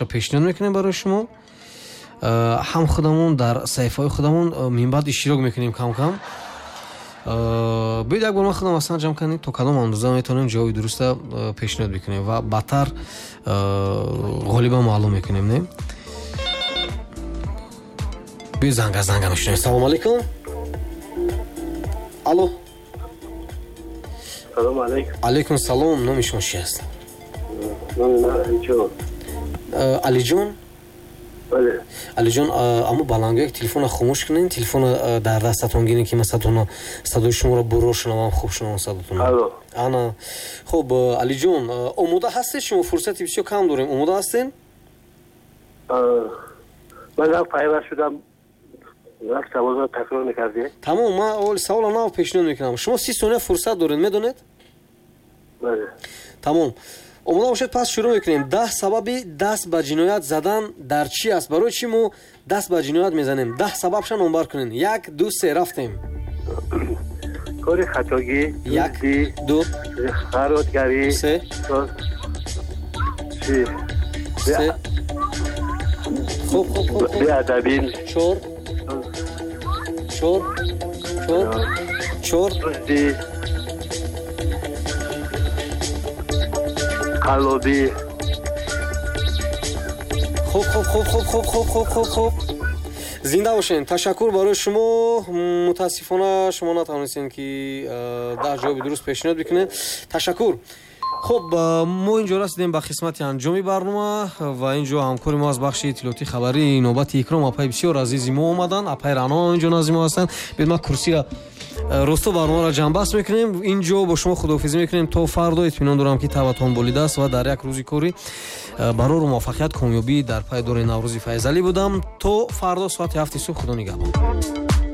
Пешниҳод мекунем барои шумо. Ҳам худамон дар саҳифаҳои худамон минбаъд иштирок мекунем кам-кам. Биёед, як бор ман худам аслан ҷамъ кардем, то кадом андоза метавонем ҷавоби дуруста пешниҳод бикунем ва баъдтар ғолиба маълум мекунем, не? Биёед, занга занга мешунавем. Салому алайкум, алло. Салому алайкум. Алайкум салом. Номи шумо чи аст? Номи ман Алиҷон. Алиҷон? Бале. Алиҷон, аммо баландгӯяк телефонро хомӯш кунед, телефонро дар дастатон гиред, ки ман садои шуморо буро шунавам, хуб шунавам садотонро. Алло. Ана, хуб, Алиҷон, омода ҳастед шумо? Фурсати бисёр кам дорем. Омода ҳастед? Ман нав пайваст шудам, як саволро такрор мекардед. Тамом, ман саволро нав пешниҳод мекунам. Шумо 30 сония фурсат доред, медонед? Бале. Тамом, омода бошед, пас шурӯъ мекунем. 10 сабаби даст ба ҷиноят задан дар чӣ аст? Барои чӣ мо даст ба ҷиноят мезанем? 10 сабабша номбар кунед. Як, ду, се, рафтем. Кори хатогӣ. Як, ду, харотгарӣ. Се, се, хуб, хуб, хуб. Беадабӣ. Чор, чор, чор, чор. Дуздӣ, қаллобӣ. Хуб, хуб, хуб, хуб, хуб, хуб, хуб, хуб, хуб. Зинда бошед, ташаккур барои шумо. Мутаассифона, шумо натавонистем, ки 10 ҷавоби дуруст пешниҳод бикунед. Ташаккур. Хуб, мо инҷо расидем ба қисмати анҷоми барнома ва инҷо ҳамкори мо аз бахши иттилоотии хабарии навбати Икром, апаи бисёр азизи мо, омаданд. Апаи Рано инҷо назди мо ҳастанд. Биёед, ман курсира росто. Барномаро ҷамъбаст мекунем инҷо, бо шумо худоҳофизӣ мекунем то фардо. Итминон дорам, ки табатон болидааст ва дар як рӯзи корӣ барору муваффақият, комёбӣ дар пай дори. Наврӯзи Файзалӣ будам. То фардо соати 7-и субҳ. Худо нигаҳбон.